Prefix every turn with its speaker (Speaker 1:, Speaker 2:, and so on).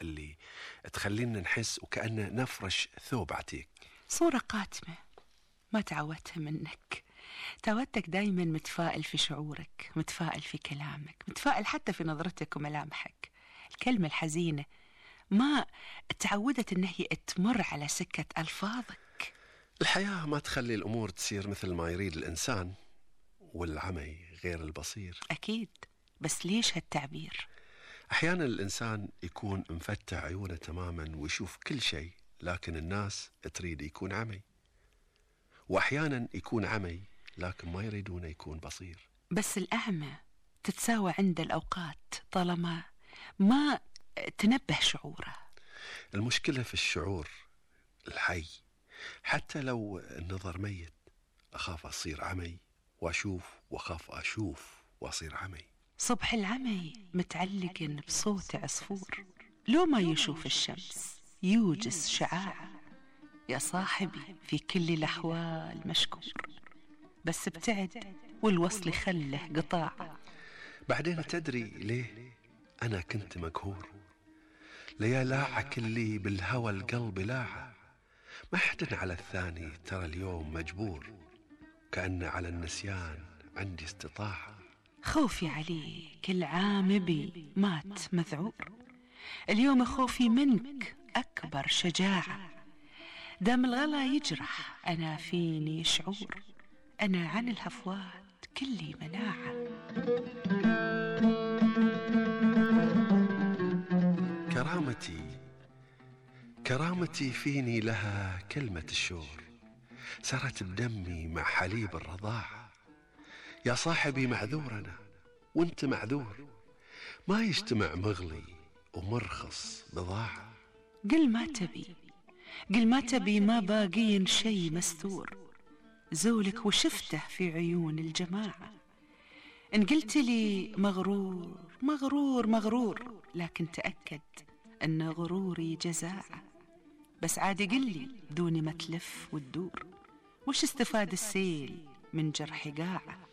Speaker 1: اللي تخلينا نحس وكأننا نفرش ثوب عتيق.
Speaker 2: صورة قاتمة ما تعودتها منك. تعودتك دايما متفائل في شعورك، متفائل في كلامك، متفائل حتى في نظرتك وملامحك. الكلمة الحزينة ما تعودت ان هي تمر على سكة ألفاظك.
Speaker 1: الحياة ما تخلي الأمور تصير مثل ما يريد الإنسان، والعمي غير البصير.
Speaker 2: أكيد، بس ليش هالتعبير؟
Speaker 1: أحيانا الإنسان يكون مفتح عيونه تماما ويشوف كل شيء، لكن الناس تريد يكون عمي، وأحيانا يكون عمي لكن ما يريدون يكون بصير.
Speaker 2: بس الأعمى تتساوى عند الأوقات طالما ما تنبه شعوره.
Speaker 1: المشكلة في الشعور الحي. حتى لو النظر ميت، أخاف أصير عمي وأشوف، وأخاف أشوف وأصير عمي.
Speaker 2: صبح العمي متعلق بصوت عصفور، لو ما يشوف الشمس يوجس شعاع. يا صاحبي في كل الأحوال مشكور، بس ابتعد والوصل خله قطاع.
Speaker 1: بعدين تدري ليه أنا كنت مقهور؟ ليا لاعة كلي بالهوى القلب لاعة، ما حدن على الثاني ترى اليوم مجبور، كأن على النسيان عندي استطاعة.
Speaker 2: خوفي عليك العام بي مات مذعور، اليوم خوفي منك أكبر شجاعة. دام الغلا يجرح أنا فيني شعور، أنا عن الهفوات كلي مناعة.
Speaker 1: كرامتي فيني لها كلمة الشور، سرت بدمي مع حليب الرضاعة. يا صاحبي معذور أنا وانت معذور، ما يجتمع مغلي ومرخص بضاعة.
Speaker 2: قل ما تبي، قل ما تبي، ما باقين شي مستور، زولك وشفته في عيون الجماعة. إن قلت لي مغرور مغرور مغرور، لكن تأكد أن غروري جزاعة. بس عادي قلي دون ما تلف وتدور، وش استفاد السيل من جرح قاعة؟